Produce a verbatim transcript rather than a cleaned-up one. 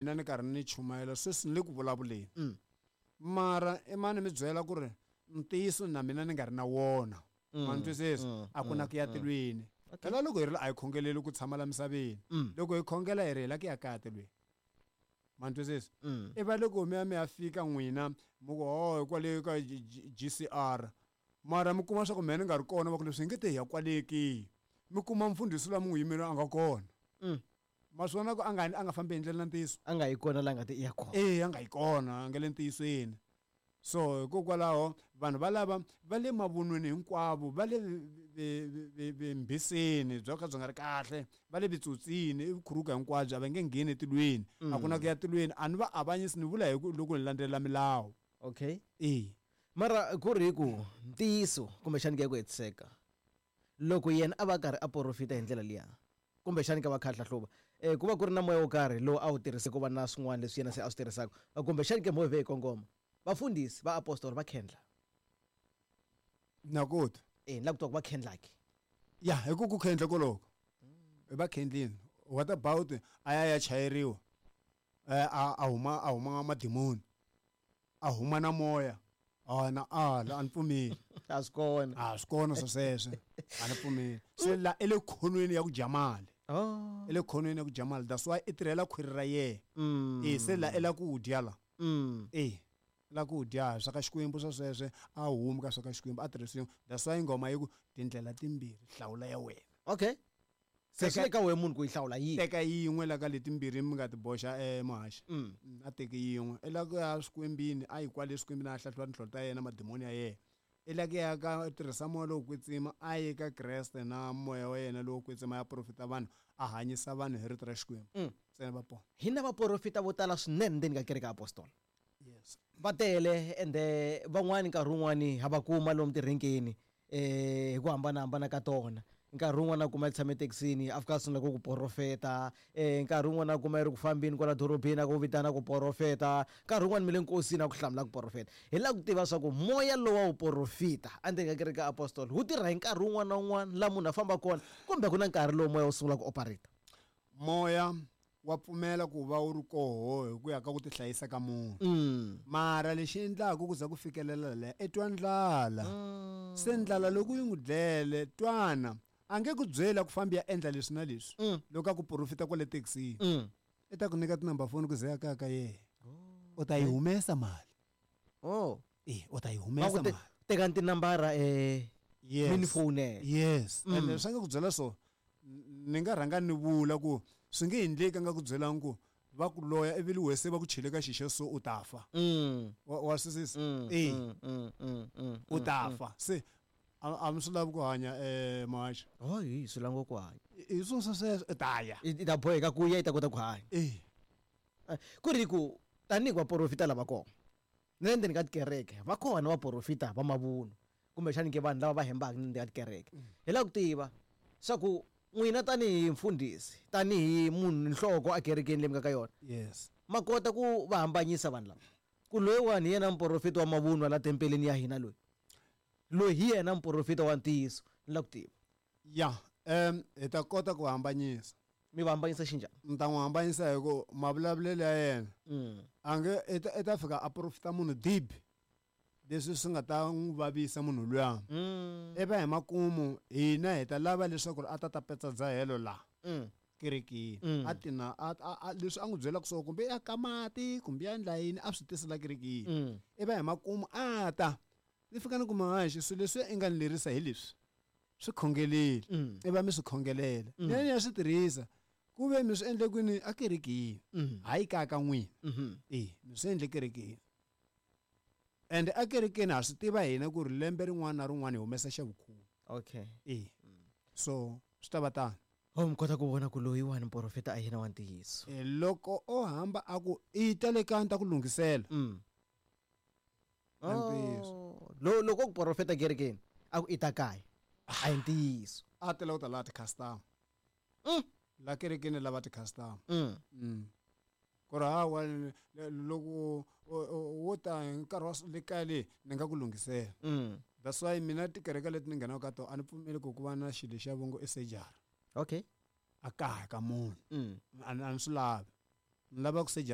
Mina ni karhi ni chumayela sweswi ni le ku vulavuleni mara i mani mi byela ku ri ntiyiso na mina ni nga ri na wona ma ni twisisa a ku na ku ya tilweni phela loko hi ri a hi khongeleli ku tshama la misaveni loko hi khongela hi ri hi la ku ya kaya tilweni ma ni twisisa i va loko mi ya mi ya fika n'wina mi ku ho kwale ka G C R mara mi kuma swa ku mehe ni nga ri kona va ku leswi hi nge te hi ya kwale ke mi kuma mfundhisi loyi mi n'wi yimela a nga kona ma swi vona ku a nga a nga fambi hi ndlela na ntiyiso a nga yi kona la nga te i ya kona e a nga yi kona a nga le ntiyisweni so hikokwalaho vanhu valava va le mavunweni hinkwavo va le vimbhiseni byo ka byi nga ri kahle va le vitsotsini i vukhuruka hinkwabyo a va nge ngheni etilweni a ku na ku ya tilweni a ni va avanyisi ni vula hi ku loko ni landzelela milawu okay e mara ku ri ku ntiyiso kumbexani ku ya ku hetiseka loko yena a va karhi a porofita hi ndlela liya kumbexani ka va kha hlahluva eh ku va ku ri na moya wo karhi lowu a wu tirhise ku va na swin'wana leswi yena se a swi tirhisaka kumbexani ke moya hi kongoma vafundhisi va apostoli va khendla na kota eh ni la ku twa ku va khendlaki ya hi ku ku khendla koloko va khendlini what about a ya ya chayeriwa a a huma a huma madimoni a huma na moya a na ala a ni pfumeli a swi kona a swi kona swo sweswo a ni pfumeli se la i le khonweni ya ku dya mali oh i le khonweni ya ku dya mali that's why i tirhela khwiri ra yena e se la i la ku dya la e la ku dya swa ka Xikwembu swa sweswe a humi ka swa ka Xikwembu a tirhisiwa that's why ngoma yi ku tindlela timbirhi hlawula ya wena okay se swi le ka wena munhu ku yi hlawula yihi teka yin'we la ka letimbirhi mi nga ti boxa emuhaxi a teki yin'we i la ku ya swikwembini a yi kwale swikwembini a hlahluva tinhlolo ta yena madimoni ya yena i la ku ya ka tirhisa moya lowo kwetsima a yi ka Kreste na moya wa yena lowo kwetsima ya profita vanhu a hanyisa vanhu hi rito ra Xikwembu ntsena va pona hi na vaprofita vo tala swinene ndzeni ka kereke ya apostola yes va tele ende van'wani nkarhi wun'wani ha va kuma lomu tirhenkeni eh hi ku hambanahambana ka tona nkarhi wun'wana a kuma yi tshame thekisini a fika a sungula ku ku porofeta eh nkarhi wun'wana a kuma yi ri ku fambeni kwala dorobeni a ku vitana ku porofeta nkarhi wun'wana mi le nkosini a ku hlamula ku porofeta hi lava ku tiva swa ku moya lowa wu porofita endzeni ka kereke ya apostoli wu tirha hi nkarhi wun'wana na wun'wana laha munhu a famba kona kumbe ku na nkarhi lowu moya wu sungula ku operate moya wa pfumela ku va wu ri koho hi ku ya ka ku tihlayisa ka munhu mara lexi endlaka ku za ku fikelela leya i twa ndlala se ndlala loko yi n'wi dlele twana a nge ku byela ku fambi ya endla leswi na leswi loko a ku porofita kwale thekisini i ta ku nyika tinumber phone ku ze ya kaya ka yena u ta yi humesa mali oh e u ta yi humesa mali tekani tinambara eh yes mi ni fonela yes ende swi nga ku byela so ni nga rhanga ni vula ku swi nge endleki a nga ku byelangi ku va ku loya ivi li wese va ku chele ka xixe so u ta fa wa wa swisisa e u ta fa se a mi swi lavi ku hanya um muhaxi oh hi swi lava ku hanya hi swona swa sweswo i ta ya i ta boheka ku ya i ta kota ku hanya e ku ri ku tanihi vaporofita lava kona na le ndzeni ka tikereke va kona vaporofita va mavunwa kumbexani ke vanhu lava va hembaka na ndzeni ka tikereke hi lava ku tiva swa ku n'wina tanihi mfundhisi tanihi munhu nhloko ekerekeni leyi mi nga ka yona yes ma kota ku va hambanyisa vanhu lava ku loyiwani hi yena muporofita wa mavunwa la tempeleni ya hina loyi loyi hi yena muporofita wa ntiyiso ni lava ku tiva ya um hi ta kota ku hambanyisa mi va hambanyisa xinjhani ni ta n'wi hambanyisa hi ku mavulavulelo ya yena a nge i ta i ta fika a porofita munhu dibi leswi swi nga ta n'wi vavisa munhu luya i va hi makumu hina hi ta lava leswaku a ta ta petsa dzahelo laha kerekeni a tina a a leswi a n'wi byelaka swona kumbe ya ka mati kumbe ya endla yini a swi tisela kerekeni i va hi makumu a ta ni fika ni kuma haxi swilo leswi i nga ni lerisa hi leswi swi khongeleli i va mi swi khongelela mina ni ya swi tirhisa ku ve mi swi endle kwini a kerekeni hayi kaya ka n'wina e mi swi endle kerekeni ende a kerekeni ha swi tiva hina ku ri lembe rin'wana na rin'wana hi humesa xa vukhume okay e so swi ta va tano oh mi kota ku vona ku loyiwani muporofeta a yena wa ntiyiso e loko o hamba a ku i ta le kaya ni ta ku lunghisela Oh, lo loko ku porofeta kerekeni a ku i ta kaya a hi ntiyiso a tela ku ta laha ti-customer la kerekeni lava ti-customer ku ri hawa loko wo ta hi nkarhi wa le kaya leyi ni nga ku lunghisela that's why mina tikereke leti ni nghenaka ka tona a ni pfumeli ku ku va na xilo xa vongo i surgery okay a kaya ka munhu a ni a ni swi lavi Ni lava ku sejara.